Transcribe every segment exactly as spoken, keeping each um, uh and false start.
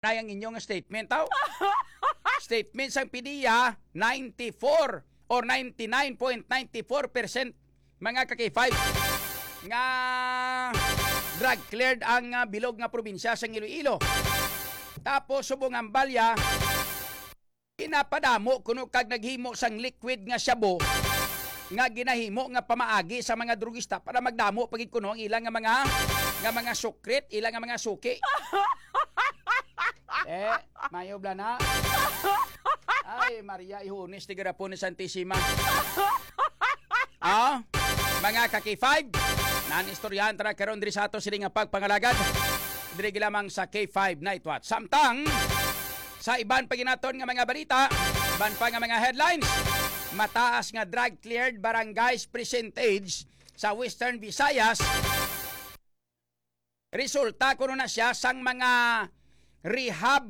na ang inyong statement, aw. Statement sang PDEA, ninety-four or ninety-nine point nine four percent, mga ka-K five, nga drug cleared ang, ah, bilog nga probinsya sang Iloilo. Tapos, subong ang balya, ginapadamo kuno kag naghimo sang liquid nga shabu nga ginahimo nga pamaagi sa mga drugista para magdamo pa gid kuno ang ila nga mga, nga mga sukrit, ila nga mga suki. Eh, mayo bala na. Ay, Maria, ihunis ti garapon ni Santisima. Ah, mga ka-K five, nan istoryahan ta na karon diri sa ato sini nga pagpangalagad. Diri lamang sa K five Night Watch. Samtang, sa iban pa ginaton nga mga balita, iban pa nga mga headlines, mataas nga drug cleared barangays percentage sa Western Visayas. Resulta kuno na siya sang mga rehab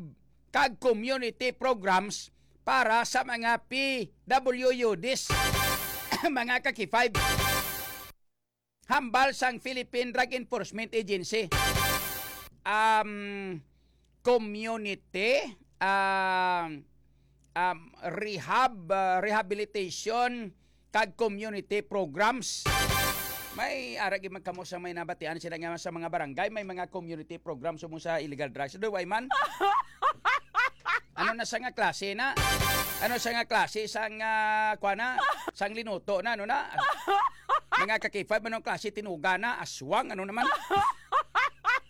kag community programs para sa mga P W Ds, mga ka-K five. Hambal sang Philippine Drug Enforcement Agency, um, community, um, um, rehab, uh, rehabilitation, kag community programs. May ara gid man kamo sa may nabatian sila nga sa mga barangay may mga community programs subong sa illegal drugs. Do, why man? Ano na sa nga klase na? Ano sa nga klase sang, ah, kwa na? Sang linuto na, ano na? Mga ka-K five, anong klase tinuga na? Aswang, ano naman?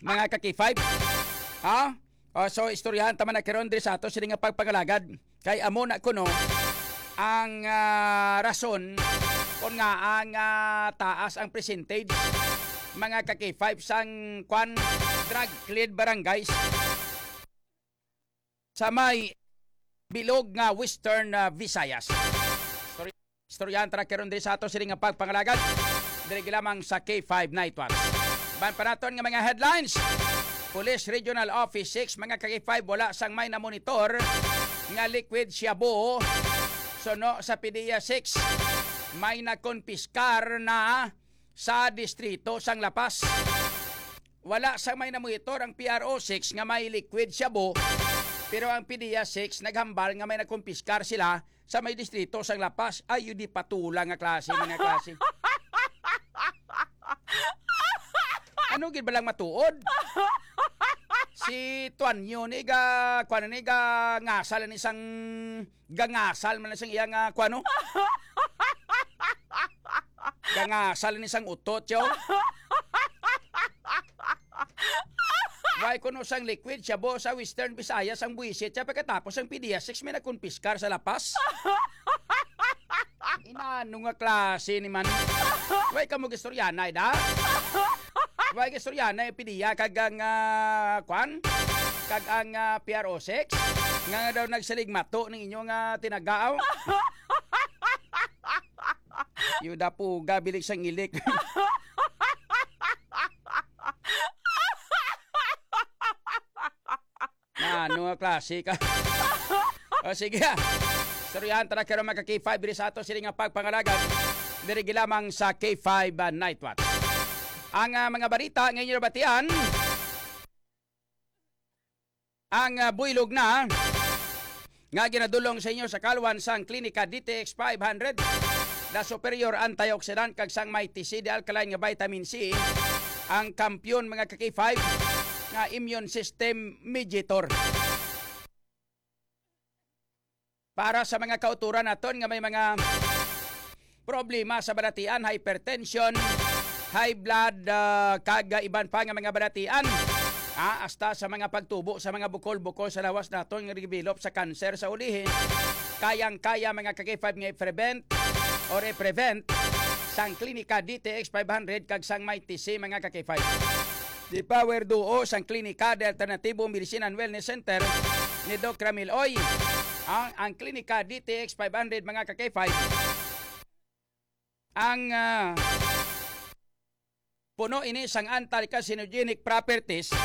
Mga ka-K five? Ha? O, so, istoryahan ta man na karon diri sa ato sini nga pagpangalagad. Kay amo na kuno ang, ah, rason kung nga ang, ah, taas ang percentage, mga ka-K five, sang kwan, drug cleared barangays sa may bilog nga Western, ah, Visayas. Istoryahan ta na karon diri sa ato sini nga pagpangalagad, diri lamang sa K five Night Watch. Ban pa naton nga mga headlines, Police Regional Office six, mga ka-K five, wala sang may namonitor nga liquid shabu. Suno sa PDEA six, may nakonpiskar na sa distrito sang La Paz. Wala sang may namonitor ang P R O six nga may liquid shabu, pero ang PDEA six naghambal nga may nakonpiskar sila sa may distrito sang La Paz. Ay, yun di patula nga klase, mga klase. Ano gid ba lang matuod? Si Tuanyo ni ga, kuwan ni ga, ngasal ni sang, gangasal man sang iya nga, kuwano? Gangasal ni sang utot, yo. Why kuno sang liquid shabu sa Western Visayas ang buwisit siya pagkatapos ang PDEA six may nakonpiskar sa La Paz? Inano nga klase ni man? Why ka mo gistoryanay, da? Why gistoryanay ang PDEA kag ang, ah, kwan? Kag ang, ah, P R O six? Nga, nga daw nagsiligmato ning inyong, ah, tinagaaw? Yuda puga, bilik sang ilik. Ano nga klase ka? O, sige, ah. Istoryahan ta na karon, mga ka-K five, diri sa ato sini nga pagpangalagad. Diri gilamang sa K five, ah, Night Watch. Ang, ah, mga balita nga inyo nabatian, ang, ah, buylog na nga ginadulong sa inyo sa kalwan sang Klinika D T X five hundred, The Superior Antioxidant, kag sang Mighty C, The Alkaline nga Vitamin C, ang kampiyon, mga ka-K five, nga immune system mediator. Para sa mga kauturan naton nga may mga problema sa balatian, hypertension, high blood, ah, kag, ah, iban pa nga mga balatian, ah, hasta sa mga pagtubo sa mga bukol-bukol sa lawas naton nga develop sa cancer sa ulihi, kayang-kaya, mga ka-K five, nga i-prevent or i-prevent sang Klinika D T X five hundred kag sang Mighty C, mga ka-K five. The Power Duo sang Klinika de Alternativo Medicine and Wellness Center ni Doc Ramil Oy. Ang, ang Klinika D T X five hundred, mga ka-K five, ang, ah, puno ini sang anti-carcinogenic properties,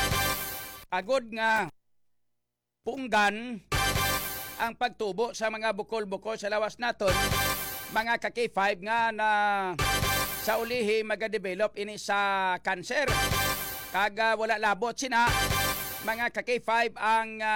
agod nga punggan ang pagtubo sa mga bukol-bukol sa lawas naton, mga ka-K five, nga na sa ulihi magadevelop ini sa cancer. Kag, ah, wala labot sina, Mga ka K five, ang